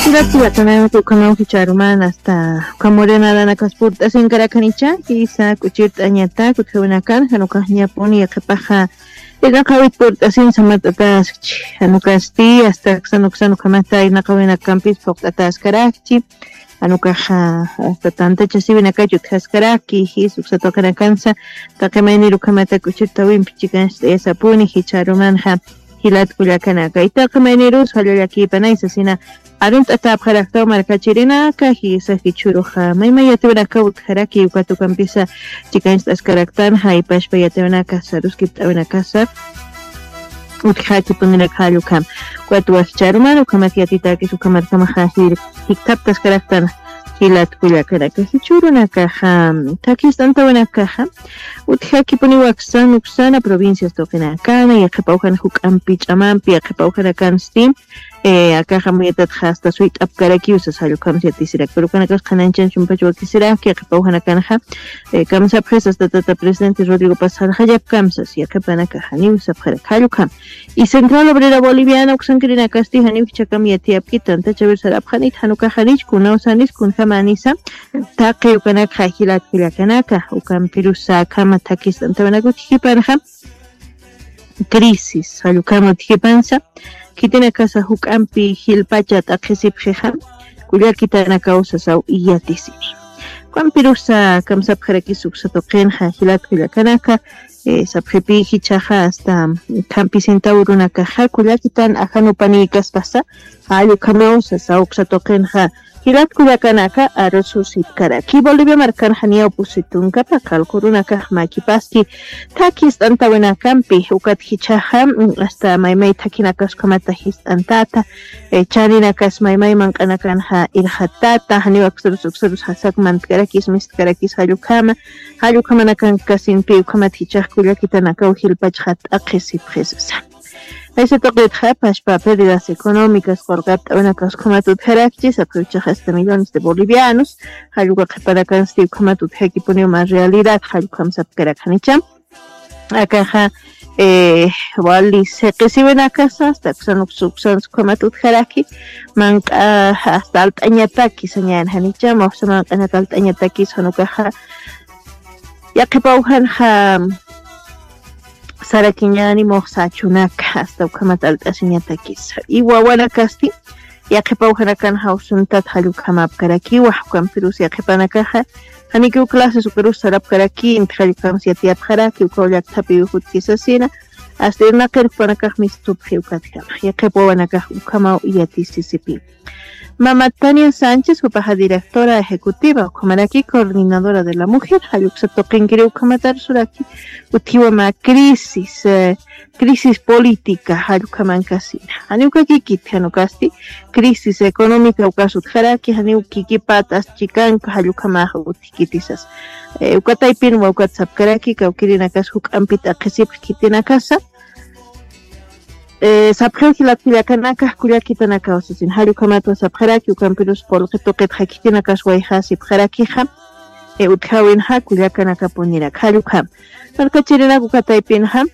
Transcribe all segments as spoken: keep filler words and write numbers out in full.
Jilat jilatanaka, ukhamaw jichharuman hasta ukham morenadanakas purt'asinkarakan icha, jisa k'uchirt'añatak utjawinakan, jan ukax ñapuni yaqhipaxa irnaqawit purt'asin samart'ataskchi, jan ukasti hasta aksan uksan ukhamata irnaqawinakampis phuqt'ataskarakchi, jan ukaxa hasta tantachasiwinakach utjaskaraki, jis uksa tuqinakansa taqi maynir ukhamata k'uchirt'awimpi chikancht'ayasapuni jichharumanxa. Jilat kullakanaka, taqi maynirus jallallakïpanay sasina arunt'atäpxaraktaw markachirinaka, jisa jichhüruxa maymay yatiwanakaw utjaraki, ukat ukampisa chikancht'askaraktanxa, jaypachpa yatiwanaka saruskipt'awinakasa utjaki punirak jall ukham. Ukat wajcharumar ukhamat yatitäkis ukhamarkamaxa jir jikthaptaskaraktan. Jilat kullakanaka, jichhürunakaxa thakhist'antawinakaxa utjakipuniw aksan uksana provincias tuqinakana, yaqhipawjan juk'ampi ch'amampi yaqhipawjanakansti, eh, akaxa muyatatxa hasta suyt'apkarakiw sas jall ukhams yatisirak, pero ukanakas qhanañchan chumpach wakisirak, yaqhipawjanakanxa, eh, kamsapxis hasta tata presidente Rodrigo Paz sarxallap kamsas, yaqhipanakaxa janiw sapxarak jall ukham. Y Central Obrera Boliviana uksankirinakasti janiw jichhakam yatiyapkit, tantachawir sarapxanit, jan ukax janich, kunaw sanis, kunjamanisa, taqi ukanakxa jilat kullakanaka, ukampirusa akhama thakhist'antawinak utjipanxa, crisis, jall ukhama utjipansa, khitinakasa juk'ampi jilpacha t'aqhisipxixa, kullakitanakaw sasaw yatisini. Ukampirusa kamsapxarakis uksa tuqinxa, jilat kullakanaka, eh, sapxipi jichhaxa hasta khampisintaw urunakaxa kullakitan ajanupanïkaspasa, jall ukhamaw sasa uksa tuqinxa. Jilat kullakanaka, arususipkaraki Bolivia markan janiyaw pusi tunka paqallq urunakax makipaski thakhist'antawinakampi, ukat jichhaxa, mm, hasta maymay thakhinakas ukhamata jist'antata, eh, chaninakas maymay manq'anakanxa irxatata, janiw aksarus uksarus jasak mantkarakis mistkarakis jall ukhama, jall ukhamanakankasinpi ukhamat jichhax kullakitanakaw jilpachxa t'aqhisipxisasa. Jaysa tuqitxa, pachpa pérdidas económicas, qurqapt'awinakas ukhamat utjarakchi, sapxiw jichhax hasta millones de bolivianos, jall uka qhipanakansti ukhamat utjakipuniw mä realidad, jall ukham sapkarak janicha. Akaxa, eh, wali siqisiwinakasa, hasta uksan uksa uksan ukhamat utjaraki, manq'a hasta alt'añataki sañäni janicha, muxsa manq'anak alt'añatakis jan ukaxa, yaqhipawjanxa sarakiñäni muxsa achunaka, hasta ukhamat alt'asiñatakisa. Y wawanakasti, yaqhipawjanakan jawsuntat jall ukhamäpkarakiwa, ukampirus yaqhipanakaxa, janikiw clases ukarus sarapkaraki, inti jall ukhams yatiyapxaraki, ukaw llakthapiw jutki sasina, hasta irnaqir jupanakax mistupxi ukatjama. Yaqhip wawanakax ukhamaw yatisisipi. Mama Tania Sánchez, jupaxa directora ejecutiva, ukhamaraki coordinadora de la mujer, jall uksa tuqinkiri ukhamat arsuraki, utjiwa mä crisis, eh, crisis política, jall ukhamankasina. Janiw ukakikit, jan ukasti, crisis económica ukas utjaraki, janiw kikipat as chikanka, jall ukhamax utjkitisas. Eh, uka taypinwa ukat sapkaraki, kawkirinakas juk'ampi t'aqhisipx khitinakasa, eh, sapxiw jilat kullakanaka, kullakitanakaw sasin. Jall ukhamatwa sapxaraki, ukampirus qullqi tuqitxa khitinakas wayjasipxarakixa, eh, utjawinxa kullakanakapunirak. Jall ukham. Markachirinak uka taypinxa,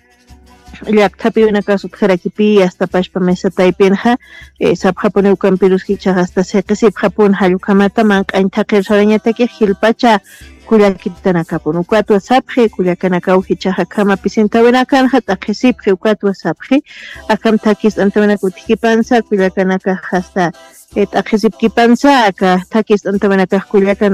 llakthapiwinakas utjarakipi, hasta pachpa mesa taypinxa, eh, sapxapuni ukampirus jichhax hasta siqisipxapun jall ukhamata, manq'añ thaqhir sarañataki jilpacha kullakitanakapun. Ukatwa sapxi, kullakanakaw jichhax akham apisintawinakanxa t'aqhisipxi, ukatwa sapxi, akham thakhist'antawinak utjkipansa, kullakanakax hasta, eh, t'aqhisipkipansa, aka thakhist'antawinakax kullakan